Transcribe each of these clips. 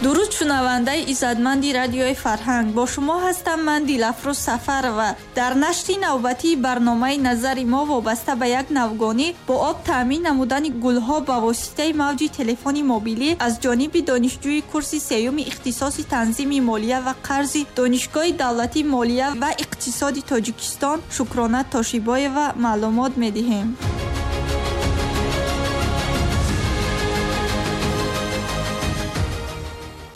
Дуруд шунавандаи иззатманди радиои фарҳанг. Бо шумо ҳастам ман Дилафрӯз Сафарова. Дар нашри навбатии барномаи назари мо вобаста ба як навгонӣ бо об таъмин намудани гулҳо ба воситаи мавҷи телефони мобилӣ аз ҷониби донишҷӯи курси сеюми ихтисоси танзими молия ва қарзи Донишгоҳи давлатии молия ва иқтисоди Тоҷикистон Шукрона Тошибоева маълумот медиҳем.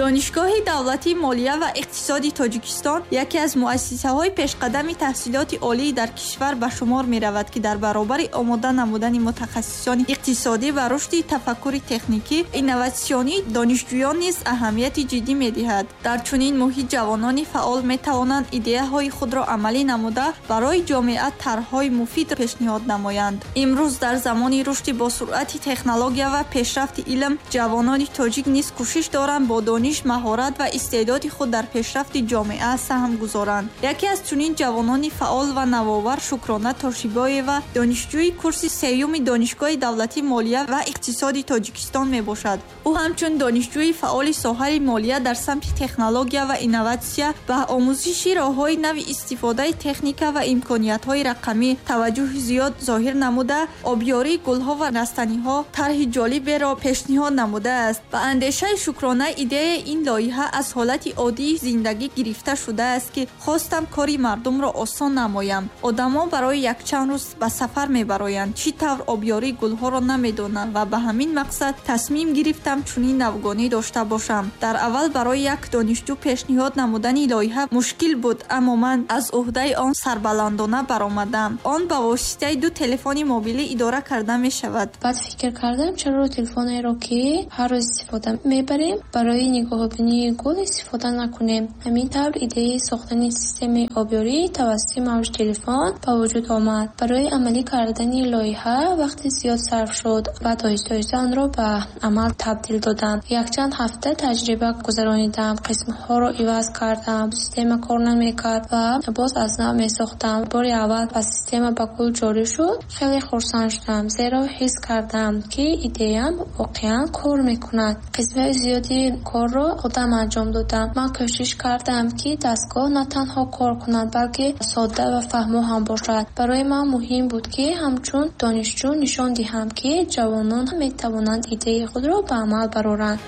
Донишгоҳи давлатии молия ва иқтисоди Тоҷикистон яке аз муассисаҳои пешқадами таҳсилоти олӣ дар кишвар ба шумор меравад, ки дар баробари омода намудани мутахассисони иқтисодӣ ва рушди тафаккури техникӣ, инноватсионӣ донишҷӯён низ аҳамияти ҷиддӣ медиҳад. Дар чунин муҳит ҷавонони фаъол метавонанд идеяҳои худро амалӣ намуда, барои ҷомеа тарҳҳои муфид пешниҳод намоянд. Имрӯз дар замони рушди босуръати технология ва пешрафти илм, ҷавонони тоҷик низ кӯшиш доранд бо дониш, маҳорат ва истеъдоди худ дар пешрафти ҷомеа саҳм гузоранд. Яке аз чунин ҷавонони фаъол ва навовар Шукрона Тошибоева, донишҷӯи курси сеюми Донишгоҳи давлатии молия ва иқтисоди Тоҷикистон мебошад. Ӯ ҳамчун донишҷӯи фаъоли соҳаи молия дар самти технология ва инноватсия ба омӯзиши роҳҳои нави истифодаи техника ва имкониятҳои рақамӣ таваҷҷӯҳи зиёд зоҳир намуда, обёрии гулҳо ва растаниҳо тарҳи ҷолиберо пешниҳод намудааст. Ба андешаи Шукрона, идеяи ин лоиҳа аз ҳолати оддии зиндагӣ гирифта шудааст, ки хостам кори мардумро осон намоям. Одамон барои якчанд рӯз ба сафар мебароянд, чӣ тавр обёрии гулҳоро намедонанд ва ба ҳамин мақсад тасмим гирифтам чунин навгонӣ дошта бошам. Дар аввал барои як донишҷӯ пешниҳод намудани лоиҳа мушкил буд, аммо ман аз уҳдаи он сарбаландона баромадам. Он ба воситаи ду телефони мобилӣ идора карда мешавад. Баъд фикр кардам, чаро телефонеро, ки ҳар рӯз истифода мебарем, барои нигоҳубинии гул истифода накунем. Ҳамин тавр идеяи сохтани системаи обёрӣ тавассути мавҷи телефон ба вуҷуд омад. Барои амалӣ кардани лоиҳа вақти зиёд сарф шуд ва оҳиста-оҳиста онро ба амал табдил додам. Якчанд ҳафта таҷриба гузаронидам, қисмҳоро иваз кардам, система кор намекард ва боз аз нав месохтам. Бори аввал ба система ба гул ҷорӣ шуд, хеле хурсанд шудам, зеро ҳис кардам, ки идеям воқеан кор мекунад. Қисмҳои зиёди корро худам анҷом додам. Ман кӯшиш кардам, ки дастгоҳ на танҳо кор кунад, балки содда ва фаҳмо ҳам бошад. Барои ман муҳим буд, ки ҳамчун донишҷӯ нишон диҳам, ки ҷавонон метавонанд идеяи худро ба амал бароранд.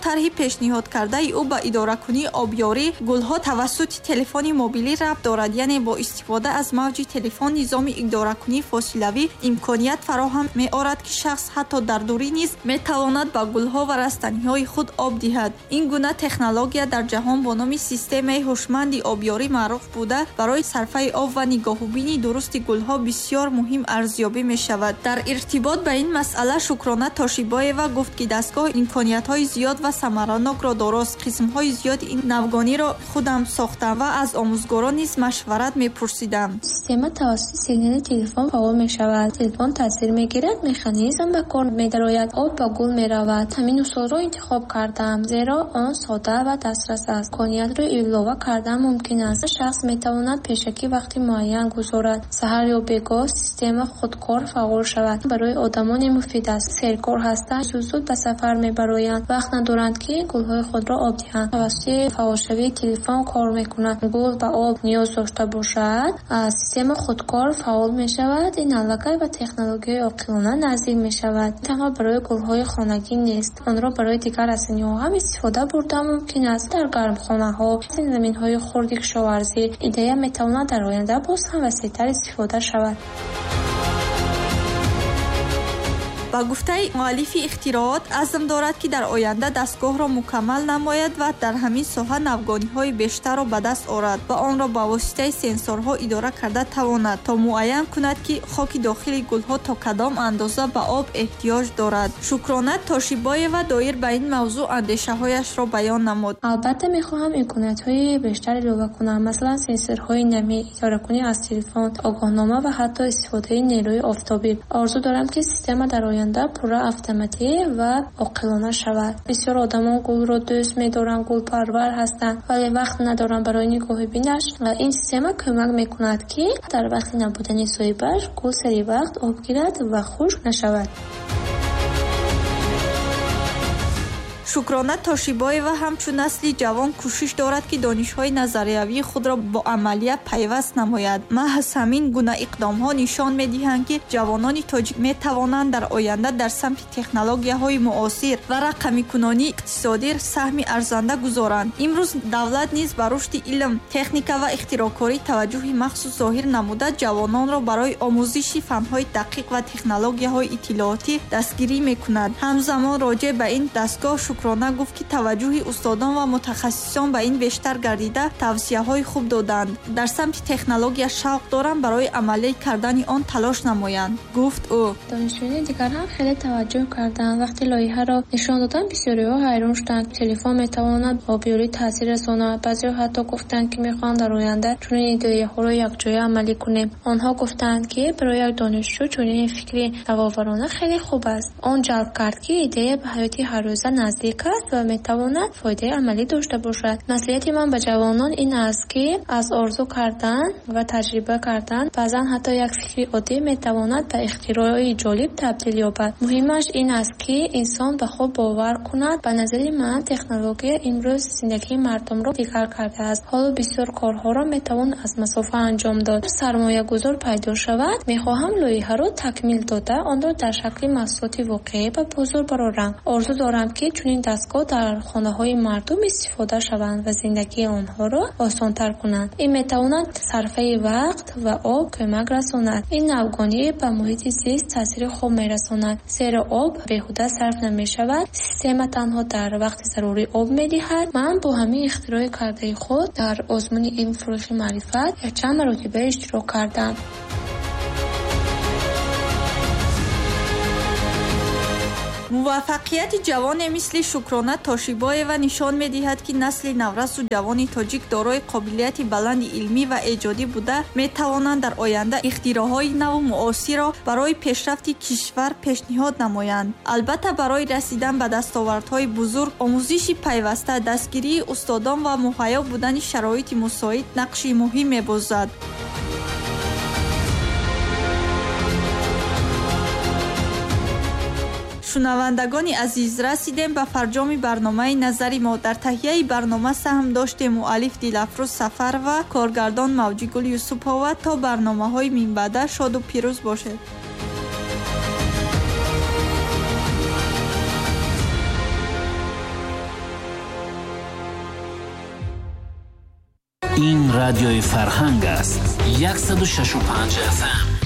Тарҳи пешниҳодкардаи ӯ ба идоракунии обёрӣ гулҳо тавассути телефони мобилӣ рабт дорад, яъне бо истифода аз мавҷи телефон низоми идоракунии фосилавӣ имконият фароҳам меорад, ки шахс ҳатто дар дурӣ низ метавонад ба гулҳо ва растаниҳои худ об диҳад. Ин гуна технология дар ҷаҳон бо номи системаи ҳушманди обёрӣ маъруф буда, барои сарфаи об ва нигоҳубини дурусти гулҳо бисёр муҳим арзёбӣ мешавад. Дар иртибот ба ин масъала Шукрона Тошибоева гуфт, ки дастгоҳ имкониятҳои зиёд ва самаранокро дорост. Қисмҳои зиёди ин навгониро худам сохтам ва аз омӯзгорон низ машварат мепурсидам. Система тавассути сигнали телефон фаъол мешавад. Телефон таъсир мегирад, механизм ба кор медарояд, об ба гул меравад. Ҳамин усулро интихоб кардам, зеро он сода ва дастрас аст. Имкониятро илова кардан мумкин аст. Шахс метавонад пешакӣ вақти муайян гузорад. Саҳар ё бегоҳ система худкор фаъол шавад. Барои одамоне муфид аст, серкор ҳастанд, зуд-зуд ба сафар мебароянд, вақт надоранд, ки гулҳои худро об диҳанд. Тавассути фаъолшавии телефон кор мекунад. Гул ба об ниёз дошта бошад, система худкор фаъол мешавад. Ин аллакай ба технологияи оқилона наздик мешавад. Танҳо барои гулҳои хонагӣ нест, онро барои дигар растаниҳо ҳам истифода бурда мумкин аст. Дар гармхонаҳо, заминҳои хурди кишоварзӣ идея метавонад дар оянда боз ҳам васеътар истифода шавад. Ба гуфтаи муаллифи ихтироот, азм дорад, ки дар оянда дастгоҳро мукаммал намояд ва дар ҳамин соҳа навгониҳои бештарро ба даст орад ва онро ба воситаи сенсорҳо идора карда тавонад, то муайян кунад, ки хоки дохили гулҳо то кадом андоза ба об эҳтиёҷ дорад. Шукрона Тошибоева доир ба ин мавзӯъ андешаҳояшро баён намуд. Албатта мехоҳам имкониятҳои бештар илова кунам, масалан сенсорҳои намӣ, идоракунӣ аз телефон, огоҳнома ва ҳатто истифодаи нерӯи офтобӣ. Орзу дорам, ки система дар оянда пурра автоматӣ ва оқилона шавад. Бисёр одамон гулро дӯст медоранд, гулпарвар ҳастанд, вале вақт надоранд барои нигоҳубинаш. Ин система кӯмак мекунад, ки дар вақти набудани соҳибаш гул сари вақт об гирад ва хушк нашавад. Шукрона Тошибоева ҳамчун насли ҷавон кӯшиш дорад, ки донишҳои назариявии худро бо амалия пайваст намояд. Маҳз ҳамин гуна иқдомҳо нишон медиҳанд, ки ҷавонони тоҷик метавонанд дар оянда дар самти технологияҳои муосир ва рақамикунонии иқтисодӣ саҳми арзанда гузоранд. Имрӯз давлат низ ба рушди илм, техника ва ихтироъкорӣ таваҷҷӯҳи махсус зоҳир намуда, ҷавононро барои омӯзиши фанҳои дақиқ ва технологияҳои иттилоотӣ дастгирӣ мекунад. Ҳамзамон роҷеъ ба ин дастгоҳ Шукрона гуфт, ки таваҷҷӯҳи устодон ва мутахассисон ба ин бештар гардида, тавсияҳои хуб доданд. Дар самти технология шавқ дорам, барои амалӣ кардани он талош намоянд, гуфт ӯ. Донишҷӯёни дигар ҳам хеле таваҷҷӯҳ карданд. Вақте лоиҳаро нишон доданд, бисёриҳо ҳайрон шуданд. Телефон метавонад ба обёрӣ таъсир расонад. Баъзеҳо ҳатто гуфтанд, ки мехоҳанд дар оянда чунин идеяҳоро якҷоя амалӣ кунем. Онҳо гуфтанд, ки барои як донишҷӯ чунин фикри навоварона хеле хуб аст. Он ҷалб кард, ки идея ба ҳаёти ҳаррӯза наздик аст ва метавонад фоидаи амалӣ дошта бошад. Маслиҳати ман ба ҷавонон ин аст, ки аз орзу кардан ва таҷриба кардан баъзан ҳатто як фикри оддӣ метавонад ба ихтирои ҷолиб табдил ёбад. Муҳимаш ин аст, ки инсон ба худ бовар кунад. Ба назари ман, технология имрӯз зиндагии мардумро дигар кардааст. Ҳоло бисёр корҳоро метавон аз масофа анҷом дод. Сармоягузор пайдо шавад, мехоҳам лоиҳаро такмил дода, онро дар шакли маҳсулоти воқеӣ ба бозор барорам. Орзу дорам, ки чунин дастгоҳ дар хонаҳои мардум истифода шаванд ва зиндагии онҳоро осонтар кунанд. Ин метавонад сарфаи вақт ва об кӯмак расонад. Ин навгонӣ ба муҳити зист таъсири хуб мерасонад, зеро об беҳуда сарф намешавад. Система танҳо дар вақти зарурӣ об медиҳад. Ман бо ҳамин ихтирои кардаи худ дар озмуни илм фурӯғи маърифат якчанд маротиба иштирок кардам. Муваффақияти ҷавоне мисли Шукрона Тошибоева нишон медиҳад, ки насли наврасу ҷавони тоҷик дорои қобилияти баланди илмӣ ва эҷодӣ буда, метавонанд дар оянда ихтироъҳои наву муосирро барои пешрафти кишвар пешниҳод намоянд. Албатта, барои расидан ба дастовардҳои бузург, омӯзиши пайваста, дастгирии устодон ва муҳайё будани шароити мусоид нақши муҳим мебозад. Шунавандагони азиз, расидем ба фарҷоми барномаи назари мо. Дар таҳияи барнома саҳм доштем муаллиф Дилафрӯз Сафарова, коргардон Мавҷигул Юсупова. То барномаҳои минбаъда шоду пирӯз бошед. Ин радиои Фарҳанг аст. 106.5 FM.